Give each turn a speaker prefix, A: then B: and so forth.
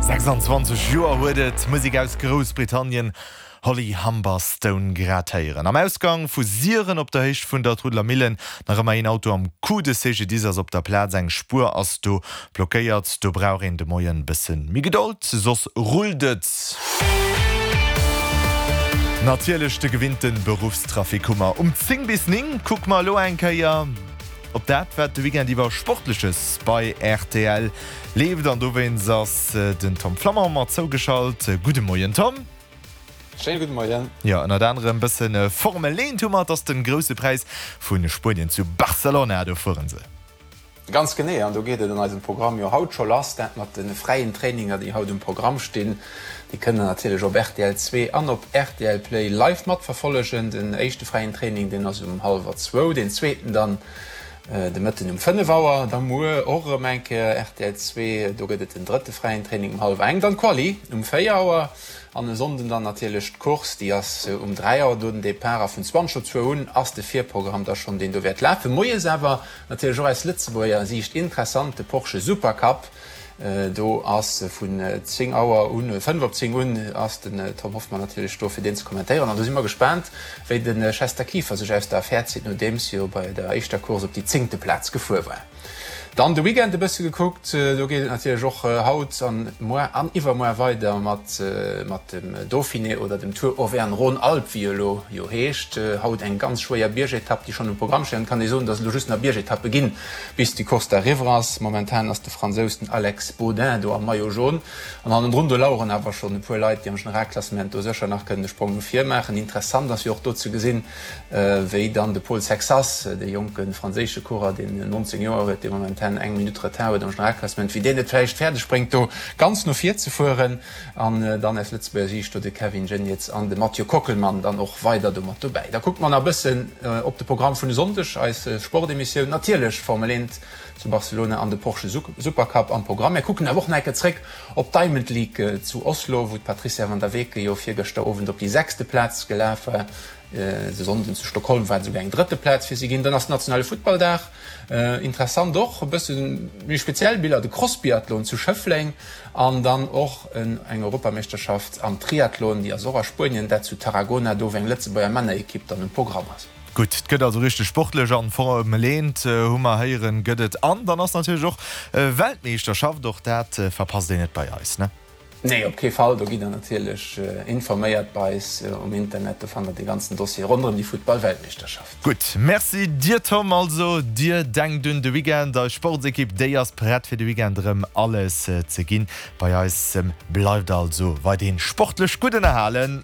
A: 26 Joer huet et d'Musek aus Groussbritannien Holly Humberstone grad héieren. Am Ausgang vu Siren op der Héicht vun der Trudler Millen nach ëmmer een Auto am Coup. De CGDIS ass op der Plaz, eng Spuer ass do blockéiert. Do brauch een de Moien bëssen méi Gedold, soss rullt et. Natierlech de gewinnten Beruffstrafic hu mer um 10 bis 9. Kucke mer elo eng Kéier op dat, wat de Weekend iwwer Sportleches bei rtl leeft. An dowéinst ass den Tom Flammang mer zougeschalt. Gudde Moien Tom.
B: Schéine gudde Moien.
A: Jo, ënnert anerem bësse Formel 1 hu mer. Et ass de Grousse Präis vu Spuenien zu Barcelona. Do fueren se.
B: Ganz genee, an do geet et an eisem Programm jo haut scho lass, dat mat de fräien Traininger, déi haut um Programm stinn. Déi kënnt der natierlech op rtl 2 an op rtl Play live matverfollegen. Den éischte fräien Training, deen ass um hallwer zwou, deen zweeten dann de Mëtten um 5 Auer. Da muer och erëm eng Kéier rtl 2, do gëtt et den drëtte fräien Training um hallwer eng, dann d'Quali um 4 Auer an e Sonnden dann natierlech d'Course, déi ass um 3 Auer do den Depart a vun 20 op zwou un ass de Virprogramm da schonn, deen do wäert lafen. Moies awer Natierlech och aus Lëtzebuerger Siicht interessant, de Porsche Supercup. Do ass vun 10 Auer un, 5 op 10 un, ass den Tom Hoffmann natierlech do fir deen ze kommentéieren. An do si mer gespaant, wéi de Chester Kieffer sech aus der Affär zitt, nodeems hie jo bei der éischter Course op déi zéngte Plaz gefuer war. Dann de Weekend e bësse gekuckt, do geet et natierlech och haut an muar an iwwermuar weider mat mat dem Dauphiné oder dem Tour Auvergne-Rhône-Alpes, wéi e elo jo heescht. Haut eng ganz schwéier Biergetapp, déi schonn um Programm steet. An et kann ee soen, datt et elo just nach Biergetappe ginn, bis déi Course da eriwwer ass. Momentan ass de Fransous, den Alex Baudin, do am Maillot jaune. An hannendrun, do laueren awer schonn e puer Leit, déi am Generalklassement do sécher nach kënnen e Sprong no vir maachen. Interessant ass jo och do ze gesinn, wéi dann de Paul Sexas, dee jonke franséische Coureur, deen 19 Joer huet, dee momentan eng Minutt Retard huet am Generalklassement, wéi deen et vläicht fäerdeg bréngt, do ganz no vir ze fueren. An dann aus Lëtzebuerger Siicht do de Kevin Geniets an de Mathieu Kockelmann dann och weider do mat dobäi. Da kucke mer nach e bëssen op de Programm vun e Sonndeg, eis Sportemissioun, natierlech Formel 1 zu Barcelona an de Porsche Supercup am Programm. Mir kucken awer och nach eng Kéier zréck op d'Diamond League zu Oslo, wou d'Patrizia van der Weken jo virgëschter Owend op déi sechste Plaz gelaf war. De Sonnden zu Stockholm war et esouguer eng drëtte Plaz fir si ginn. Dann ass nationale Futtballdag. Interessant och e bësse méi speziell Biller, de Crossbiathlon zu Schëffleng an dann och eng Europameeschterschaft am Triathlon, déi ass och a Spuenien, dat zu Tarragona, do wou eng Lëtzebuerger Männerekipp dann um Programm ass.
A: Gutt, et gëtt also richteg sportlech an Formel 1 hu mer héieren, gëtt et. An dann ass natierlech och Weltmeeschterschaft, och dat verpasst een net bei eis, ne?
B: Nee, op kee Fall. Do gitt der natierlech informéiert bei eis um Internet. Do fannt der de ganzen Dossier ronderëm déi Futtball-Weltmeeschterschaft.
A: Gutt, Merci dir Tom. Also dir denkt un de Weekend, eis Sportsekipp déi ass prett fir de Weekend erëm alles ze ginn. Bei eis bleift also weiderhin sportlech gutt ënnerhalen.